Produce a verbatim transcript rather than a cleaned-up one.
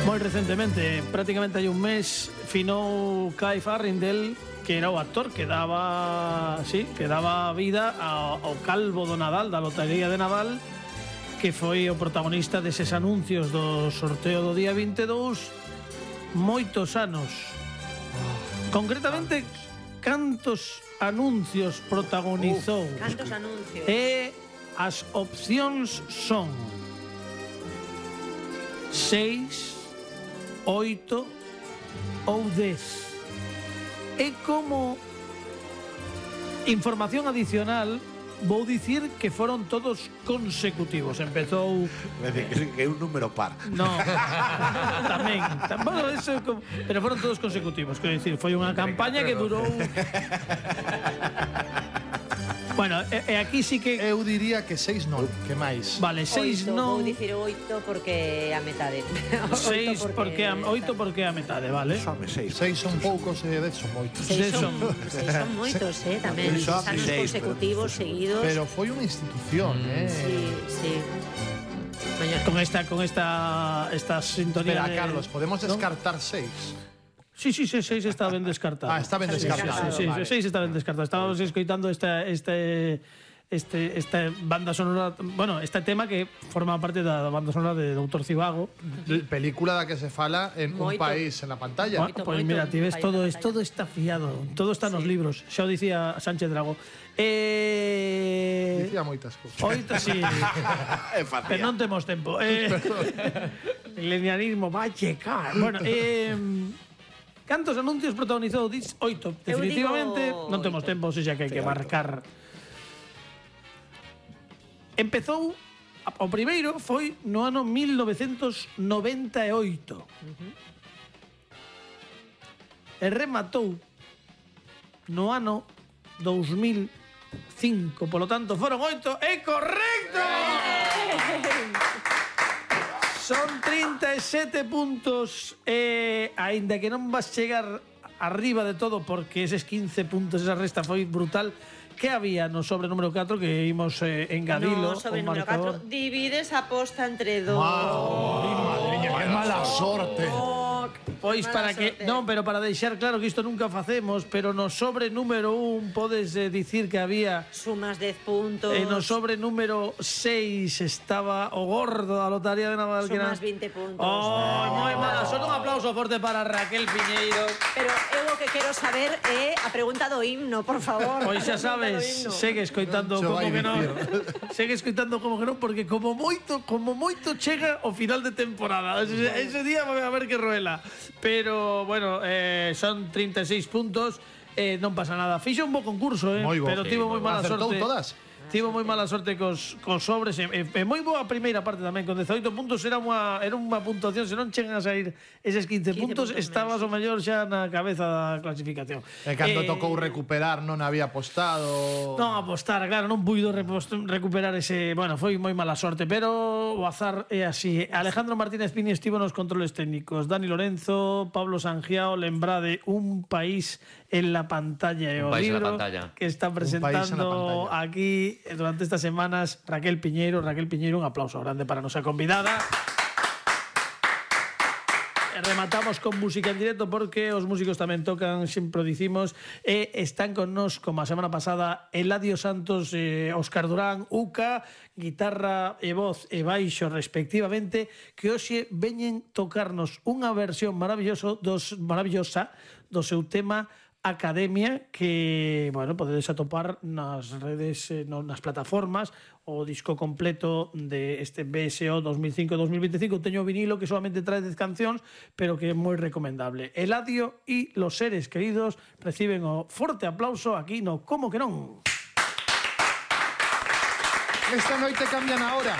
Moi recentemente, prácticamente hai un mes, finou Clive Arundel, que era o actor que daba, sí, que daba vida ao, ao calvo do Nadal, da lotería de Nadal, que foi o protagonista deses anuncios do sorteo do día vinte e dous moitos anos. Concretamente, cantos anuncios protagonizou? Uf, cantos anuncios. E as opcións son seis, oito ou dez. E como información adicional, vou dicir que foron todos consecutivos. Empezou... Me dice que é un número par. No, tamén. Bueno, eso, pero foron todos consecutivos. Quero dicir, foi unha campaña que durou... Bueno, e, e aquí sí que... Eu diría que seis non, que máis. Vale, seis Oito, non... vou dicir oito porque a metade. Seis porque a, oito porque a metade, vale? Xame seis. Seis son poucos e dez son moitos. Seis Seis son, son- seis son moitos, eh, tamén. Seis son Anos seis, consecutivos, pero- seguidos. Pero foi unha institución, eh? Sí, sí. Mañana. Con esta, con esta, esta sintonía Espera, de... Carlos, podemos ¿no? descartar seis. Sí, sí, sí, seis está ben descartado. Ah, está ben descartado. Sí, sí, sí, Vale. seis está ben descartado. Estábamos escoitando esta, este, este, esta banda sonora, bueno, este tema que forma parte da banda sonora de doutor Zivago. Película da que se fala en un Moito. país en la pantalla. Bueno, pues mira, ti ves, todo, es, todo está fiado, todo está nos Sí. libros. Xa o dicía Sánchez Drago. Eh... Dicía moitas cousas. Oito, sí. É fácil. Pero non temos tempo. Eh, el linearismo va a checar. Bueno, eh, cantos anuncios protagonizou? Dis oito. Eu Definitivamente digo non temos oito. tempo, xa que hai que marcar. Empezou, o primeiro foi no ano mil novecentos noventa e oito. E rematou no ano dous mil cinco. Polo tanto, foron oito. ¡É correcto! Son trinta e sete puntos. E, aínda que non vas chegar arriba de todo, porque eses quince puntos, esa resta foi brutal, que había no sobre número catro que imos eh, engadilo No, sobre o número marcador. catro. Divides a posta entre dos. Madre, que mala sorte. Pois Mala para que, sorte. non, pero para deixar claro que isto nunca facemos, pero no sobre número un podes eh, dicir que había Sumas dez puntos. e no sobre número seis estaba o gordo da lotaría de Naval, que era... Sumas vinte puntos. Oh, moi mala. Só un aplauso forte para Raquel Piñeiro. Pero eu o que quero saber é a pregunta do himno, por favor. Pois xa A pregunta do sabes, himno. segue escoitando Non como se vai que non. dicir. Segue escoitando como que non, porque como moito, como moito chega o final de temporada. Ese, ese día vai a ver que roela. Pero, bueno, eh, son trinta e seis puntos. Eh, non pasa nada. Fixe un bo concurso, eh, Moi bo. pero Sí, tivo moi moi bo. mala Acertou sorte. todas? Tivo moi mala sorte cos, cos sobres e, e, e moi boa a primeira parte tamén, con dezaoito puntos era unha, era unha puntuación, se non chegan a sair eses quince, quince puntos, puntos estabas o mellor xa na cabeza da clasificación. E cando Eh, tocou recuperar non había apostado. Non apostar, claro, non puido repost- recuperar ese... Bueno, foi moi mala sorte, pero o azar é así. Alejandro Martínez Pini estivo nos controles técnicos. Dani Lorenzo, Pablo Sangiao, lembrade Un país en la pantalla. E o Un país en la libro pantalla. que está país en la presentando pantalla. aquí durante estas semanas Raquel Piñeiro. Raquel Piñeiro, un aplauso grande para a nosa convidada. E rematamos con música en directo porque os músicos tamén tocan, sempre o dicimos, e están con nos, como a semana pasada, Eladio Santos, eh, Óscar Durán, Uca, guitarra e voz e baixo respectivamente, que hoxe veñen tocarnos unha versión maravilloso dos, maravillosa do seu tema Academia, que, bueno, podedes atopar nas redes, eh, no, nas plataformas, o disco completo de este B S O dos mil cinco dos mil veinticinco. Teño o vinilo que solamente trae dez cancións, pero que é moi recomendable. Eladio e los seres queridos reciben o forte aplauso aquí no Como que non. Esta noite cambian a hora.